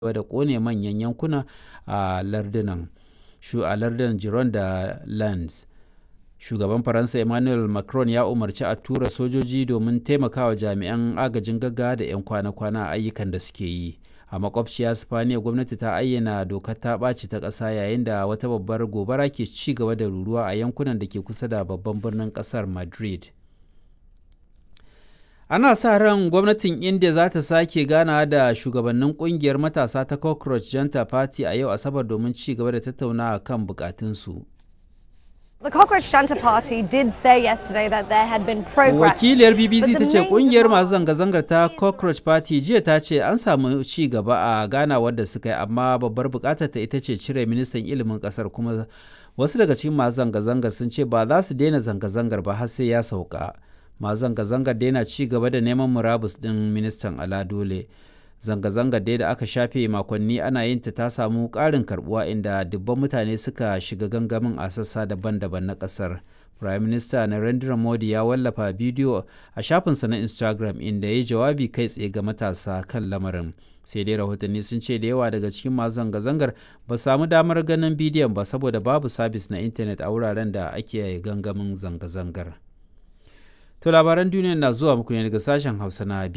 Da ƙone manyan yankuna a lardunan Gironde da Landes. Shugaban Faransa Emmanuel Macron ya umarci a tura sojoji domin taimakawa jami'an agajin gaggawa da 'yan kwana-kwana a ayyukan da suke yi. A makwabciya Sipaniya, gwamnati ta ayyana dokar ta ɓaci ta ƙasa yayin da wata babbar gobara ke ci gaba da ruruwa a yankunan da ke kusa da babban birnin ƙasar Madrid. Ana sa ran gwamnatin India za ta sake ganawa da shugabannin kungiyar matasa ta Cockroach Janta Party a yau Asabar domin ci gaba da tattaunawa kan bukatunsu. The Cockroach Janta Party did say yesterday that there had been progress. Wakiliyar BBC ta ce kungiyar masu zanga-zangar ta Cockroach Party jiya ta ce an samu ci gaba a ganawar da suka yi, amma babbar bukatar ta ita ce cire ministan ilimin kasar, kuma wasu daga cikin masu zanga-zangar sun ce ba za su daina zanga-zangar ba har sai ya sauka. Masu zanga-zangar daina ci gaba da neman murabus ɗin ministan ala dole. Zanga-zangar dai da aka shafe makonni ana yin ta samu ƙarin karbuwa, inda dubban mutane suka shiga gangamin a sassa daban-daban na ƙasar. Prime Minister Narendra Modi ya wallafa bidiyo a shafinsa na Instagram inda ya yi jawabi kai tsaye ga matasa kan lamarin. Sai dai rahotanni sun ce da yawa daga cikin masu zanga-zangar ba samu damar ganin bidiyon ba saboda babu sabis na intanet a wuraren da ake gangamin zanga-zangar. To, labaran duniya na zuwa muku ne daga sashen Hausa na